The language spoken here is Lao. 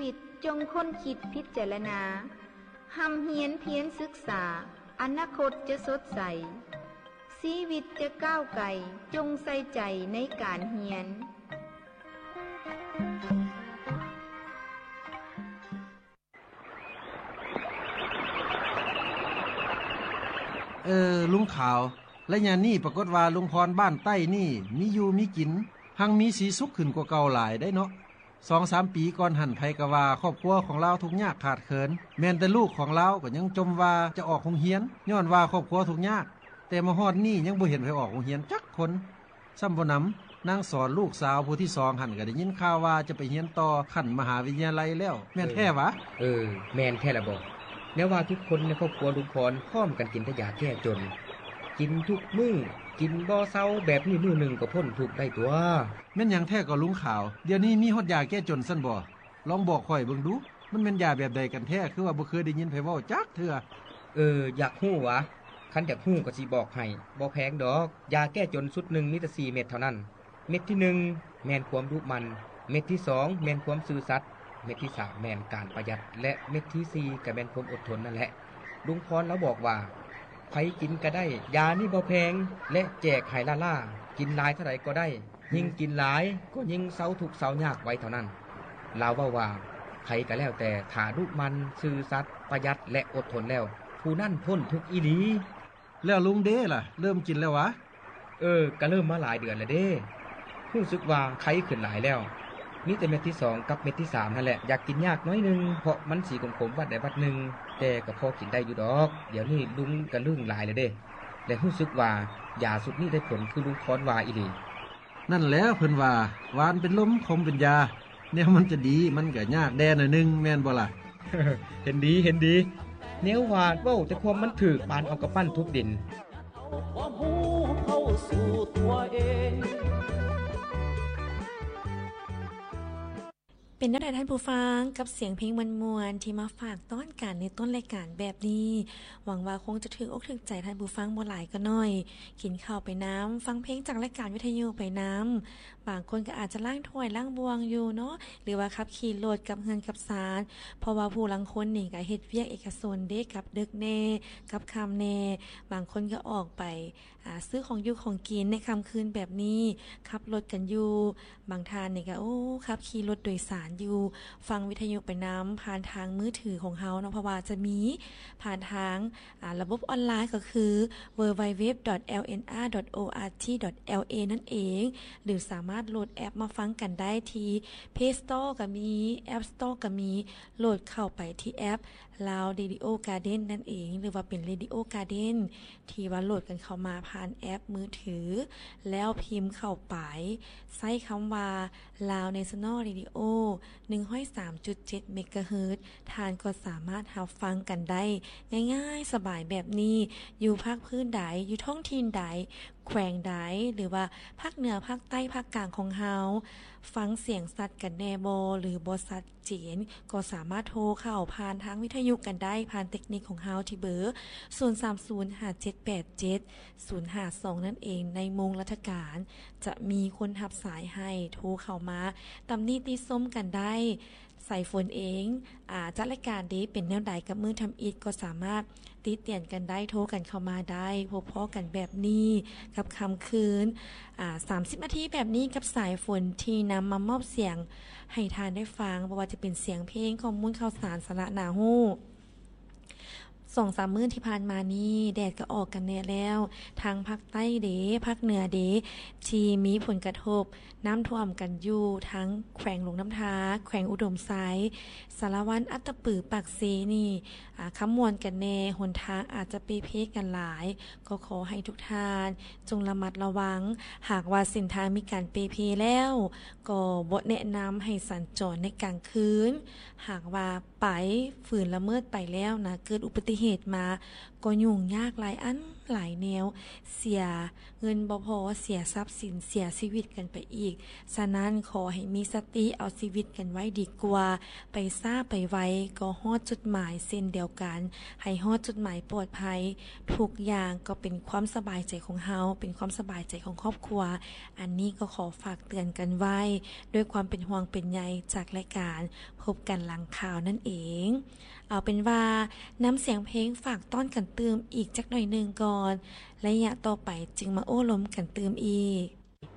ຄິດ, ຈົ່ງຄົ້ນຄິດພິຈາລະນາ, ຮ່ຳຮຽນພຽນສຶກສາ, ອະນາຄົດຈະສົດໃສ, ຊີວິດຈະກ້າວໄກ, ຈົ່ງໃສ່ໃຈໃນການຮຽນ. ເອີ ລຸງຂາວ, ໄລຍະນີ້ປາກົດວ່າລຸງພອນບ້ານໃຕ້ນີ້ມີຢູ່ມີກິນ, ຮັ່ງມີສີສຸກຂຶ້ນກວ່າເກົ່າຫຼາຍໄດ໋ເນາະ. ສອງສາມປີກ່ອນຫັ້ນ ໃຜກໍວ່າຄອບຄົວຂອງລາວທຸກຍາກຂາດເຂີນ, ແມ່ນແຕ່ລູກຂອງລາວກໍຍັງຈົ່ມວ່າຈະອອກໂຮງຮຽນ ຍ້ອນວ່າຄອບຄົວທຸກຍາກ, ແຕ່ມາຮອດນີ້ຍັງບໍ່ເຫັນໃຜອອກໂຮງຮຽນຈັກຄົນ. ຊ້ຳບໍ່ໜຳ, ນາງສອນລູກສາວຜູ້ທີສອງຫັ້ນ ກໍໄດ້ຍິນຂ່າວວ່າຈະໄປຮຽນຕໍ່ຂັ້ນມະຫາວິທະຍາໄລແລ້ວ, ແມ່ນແທ້ຫວາ? ເອີ ແມ່ນແທ້ລະບໍ. ແນວວ່າທຸກຄົນໃນຄອບຄົວລຸງພອນພ້ອມກັນກິນແຕ່ຢາແກ້ຈົນ, ກິນທຸກມື້, ກິນບໍ່ເຊົາ, ແບບນີ້ມື້ໜຶ່ງກໍພົ້ນທຸກໄດ້ຕົວະ. ແມ່ນຫຍັງແທ້ກໍລຸງຂາວ? ດຽວນີ້ມີຮອດຢາແກ້ຈົນຊັ້ນບໍ? ລອງບອກຂ້ອຍເບິ່ງດູ, ມັນແມ່ນຢາແບບໃດກັນແທ້? ຄືວ່າບໍ່ເຄີຍໄດ້ຍິນໃຜເວົ້າຈັກເທື່ອ. ເອີ ຢາກຮູ້ຫວາ? ຄັນຢາກຮູ້ກໍຊິບອກໃຫ້, ບໍ່ແພງດອກ. ຢາແກ້ຈົນຊຸດໜຶ່ງມີແຕ່ສີ່ເມັດເທົ່ານັ້ນ. ເມັດທີໜຶ່ງແມ່ນຄວາມດຸໝັ່ນ, ເມັດທີສອງແມ່ນຄວາມຊື່ສັດ, ເມັດທີສາມແມ່ນການປະຢັດ ແລະ ເມັດທີສີ່ກໍແມ່ນຄວາມອົດທົນນັ້ນແຫຼະ. ລຸງພອນລາວບອກວ່າ ໃຜກິນກໍໄດ້, ຢານີ້ບໍ່ແພງ ແລະ ແຈກໃຫ້ລ້າໆ, ກິນຫຼາຍເທົ່າໃດກໍໄດ້. ຍິ່ງກິນຫຼາຍກໍຍິ່ງເຊົາທຸກເຊົາຍາກໄວເທົ່ານັ້ນ. ລາວເວົ້າວ່າ ໃຜກໍແລ້ວແຕ່ຖ້າດຸໝັ່ນ, ຊື່ສັດ, ປະຢັດ ແລະ ອົດທົນແລ້ວ, ຜູ້ນັ້ນພົ້ນທຸກອີ່ຫຼີ. ແລ້ວລຸງເດລະ, ເລີ່ມກິນແລ້ວຫວາ? ເອີ, ກໍເລີ່ມມາຫຼາຍເດືອນແລ້ວເດ້. ຮູ້ສຶກວ່າໄຄຂຶ້ນຫຼາຍແລ້ວ. ມີແຕ່ເມັດທີສອງກັບເມັດທີສາມຫັ້ນແຫຼະ ຢາກກິນຍາກໜ້ອຍໜຶ່ງ, ເພາະມັນສີຂົມໆວັດໃດວັດໜຶ່ງ, ແຕ່ກໍພໍກິນໄດ້ຢູ່ດອກ. ດຽວນີ້ລຸງກໍລຶ້ງຫຼາຍແລ້ວເດ້. ແລະ ຮູ້ສຶກວ່າຢາຊຸດນີ້ໄດ້ຜົນຄືລຸງພອນວ່າອີ່ຫຼີ. ນັ້ນແຫຼະ ເພິ່ນວ່າ ຫວານເປັນລົມ ຂົມເປັນຢາ, ແນວມັນຈະດີ ມັນກໍຍາກແດ່ໜ້ອຍໜຶ່ງ ແມ່ນບໍ່ລະ? ເຫັນດີ, ເຫັນດີ. ແນວວ່າເວົ້າແຕ່ຄວາມມັນຖືກ, ປານເອົາກຳປັ້ນທຸບດິນ. ເປັນແນວໃດທ່ານຜູ້ຟັງ ກັບສຽງເພງມ່ວນໆ ທີ່ມາຝາກຕ້ອນກັນໃນຕົ້ນລາຍການແບບນີ້? ຫວັງວ່າຄົງຈະຖືກອົກຖືກໃຈທ່ານຜູ້ຟັງບໍ່ຫຼາຍກໍໜ້ອຍ. ກິນເຂົ້າໄປນຳ, ຟັງເພງຈາກລາຍການວິທະຍຸໄປນຳ, ບາງຄົນກໍອາດຈະລ້າງຖ້ວຍລ້າງບ່ວງຢູ່ເນາະ, ຫຼືວ່າຂັບຂີ່ລົດກັບເຮືອນກັບຊານ, ເພາະວ່າຜູ້ລາງຄົນນີ້ກໍເຮັດວຽກເອກະຊົນເດ້, ກັບເດິກແດ່, ກັບຄ່ຳແດ່, ບາງຄົນກໍອອກໄປ ອາ ຊື້ຂອງຢູ່ຂອງກິນໃນຄ່ຳຄືນແບບນີ້, ຂັບລົດກັນຢູ່, ບາງທ່ານນີ້ກໍ ໂອ້ ຂັບຂີ່ລົດໂດຍສານຢູ່, ຟັງວິທະຍຸໄປນຳ ຜ່ານທາງມືຖືຂອງເຮົາເນາະ, ເພາະວ່າຈະມີຜ່ານທາງ ອາ ລະບົບອອນລາຍ ກໍຄື www.lnr.ort.la ນັ້ນເອງ, ຫຼື ສາມາດໂຫຼດແອັບມາຟັງກັນໄດ້ທີ່ Play Store ກໍມີ, App Store ກໍมี, ໂຫຼດເຂົ້າໄປທີ່ແອັບ Lao Radio Garden ນັ້ນເອງ ຫຼືວ່າເປັນ Radio Garden ທີ່ວ່າໂຫຼດກັນເຂົ້າມາຜ່ານແອັບມືຖື ແລ້ວພິມເຂົ້າໄປ ໃຊ້ຄຳວ່າ Lao National Radio ໜຶ່ງຮ້ອຍສາມຈຸດເຈັດ ເມກາເຮີດ, ທ່ານກໍສາມາດຮັບຟັງກັນໄດ້ງ່າຍໆສະບາຍແບບນີ້, ຢູ່ພາກພື້ນໃດ, ຢູ່ທ້ອງຖິ່ນໃດ, ແຂວງໃດ, ຫຼືວ່າພາກເໜືອ, ພາກໃຕ້, ພາກກາງຂອງເຮົາ, ຟັງສຽງຊັດກັນແດ່ບໍ່ ຫຼືບໍ່ຊັດ ເຈນ ກໍສາມາດໂທເຂົ້າຜ່ານທາງວິທະຍຸກັນໄດ້ ຜ່ານເຕັກນິກຂອງເຮົາທີ່ເບີ ສູນສາມສູນ ຫ້າເຈັດແປດເຈັດ ສູນຫ້າສອງ ນັ້ນເອງ. ໃນໂມງລັດຖະການ ຈະມີຄົນຮັບສາຍໃຫ້ ໂທເຂົ້າມາຕຳໜິຕິຊົມກັນໄດ້. ສາຍຝົນເອງ ອາ ຈັດລາຍການເດ ເປັນແນວໃດກັບມື້ທຳອິດ ກໍສາມາດ ຕິຕຽນກັນໄດ້, ໂທກັນເຂົ້າມາໄດ້. ພົບພໍ້ກັນແບບນີ້ກັບຄ່ຳຄືນ ອາ ສາມສິບນາທີແບບນີ້ ກັບສາຍຝົນທີ່ນຳມາມອບສຽງໃຫ້ທ່ານໄດ້ຟັງ, ບໍ່ວ່າຈະເປັນສຽງເພງ, ຂໍ້ມູນຂ່າວສານ, ສາລະໜ້າຮູ້. ສອງສາມມື້ທີ່ຜ່ານມານີ້ ແດດກໍອອກກັນແດ່ແລ້ວ, ທັງພາກໃຕ້ເດ, ພາກເໜືອເດ ທີ່ມີຜົນກະທົບ ນ້ຳຖ້ວມກັນຢູ່ທັງແຂວງຫຼວງນ້ຳທາ, ແຂວງອຸດົມໄຊ, ສາລະວັນ, ອັດຕະປື, ປາກເຊນີ້ ອາ ຄຳມ່ວນກັນແດ່, ຫົນທາງອາດຈະເປ່ເພກັນຫຼາຍ, ກໍຂໍໃຫ້ທຸກທ່ານຈົ່ງລະມັດລະວັງ. ຫາກວ່າເສັ້ນທາງມີການເປ່ເພແລ້ວ, ກໍບໍ່ແນະນຳໃຫ້ສັນຈອນໃນກາງຄືນ. ຫາກວ່າໄປ, ຝືນລະເມີດໄປແລ້ວນະ, ເກີດອຸບັດຕິເຫ ເຫດມາ ກໍຫຍຸ້ງຍາກຫຼາຍອັນຫຼາຍແນວ ເສຍເງິນບໍ່ພໍ ເສຍຊັບສິນ ເສຍຊີວິດກັນໄປອີກ. ສະນັ້ນ ຂໍໃຫ້ມີສະຕິ ເອົາຊີວິດກັນໄວ້ດີກວ່າ. ໄປຊ້າໄປໄວ ກໍຮອດຈຸດໝາຍເຊັ່ນດຽວກັນ. ໃຫ້ຮອດຈຸດໝາຍປອດໄພ. ທຸກຢ່າງກໍເປັນຄວາມສະບາຍໃຈຂອງເຮົາ ເປັນຄວາມສະບາຍໃຈຂອງຄອບຄົວ. ອັນນີ້ກໍຂໍຝາກເຕືອນກັນໄວ້ ດ້ວຍຄວາມເປັນຫ່ວງເປັນໃຍຈາກລາຍການພົບກັນຫຼັງຂ່າວນັ້ນເອງ. ເອົາເປັນວ່າ ນຳສຽງເພງຝາກຕ້ອນກັນຕື່ມອີກຈັກໜ້ອຍໜຶ່ງກ່ອນ ໄລຍະຕໍ່ໄປຈຶ່ງມາໂອ້ລົມກັນຕື່ມອີກ.